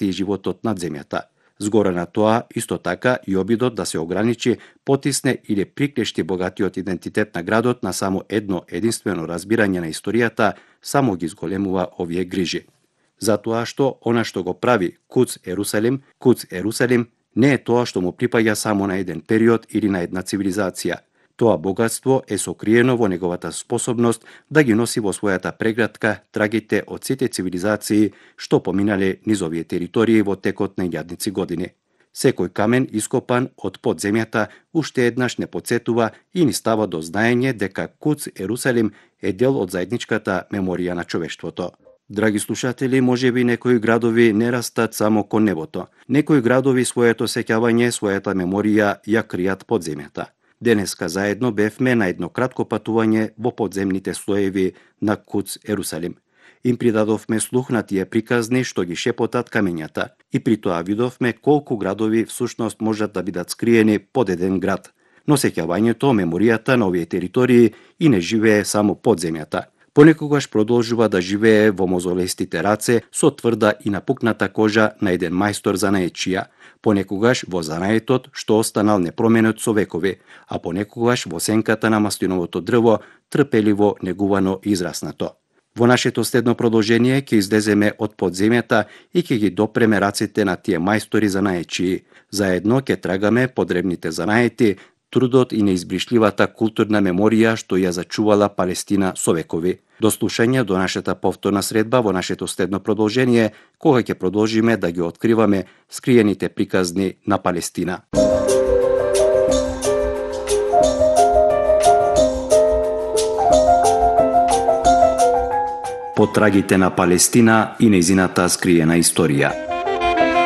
и животот над земјата. Згора на тоа, исто така и обидот да се ограничи, потисне или приклешти богатиот идентитет на градот на само едно единствено разбирање на историјата, само ги зголемува овие грижи. Затоа што она што го прави Куц Ерусалим, не е тоа што му припаѓа само на еден период или на една цивилизација. Тоа богатство е сокриено во неговата способност да ги носи во својата прегратка трагите од сите цивилизации што поминале низ овие територии во текот на илјадници години. Секој камен ископан од под земјата уште еднаш не потсетува и ни става до знаење дека Куц Ерусалим е дел од заедничката меморија на човештвото. Драги слушатели, можеби некои градови не растат само кон небото. Некои градови своето сеќавање, својата меморија ја кријат под земјата. Денеска заедно бевме на едно кратко патување во подземните слоеви на Куц Ерусалим. Им придадовме слух на тие приказни што ги шепотат камењата и при тоа видовме колку градови всушност можат да бидат скриени под еден град. Но сеќавањето, меморијата на овие територии и не живее само под земјата. Понекогаш продолжува да живее во мозолестите раце со тврда и напукната кожа на еден мајстор занаечија, понекогаш во занаетот што останал непроменет со векови, а понекогаш во сенката на маслиновото дрво, трпеливо негувано и израснато. Во нашето следно продолжение ќе излеземе од подземјата и ќе ги допреме раците на тие мајстори занаечии. Заедно ќе трагаме по древните занаети, трудот и неизбришливата културна меморија што ја зачувала Палестина со векови. До слушање до нашата повторна средба во нашето следно продолжение, кога ќе продолжиме да ги откриваме скриените приказни на Палестина. Потрагите на Палестина и нејзината скриена историја.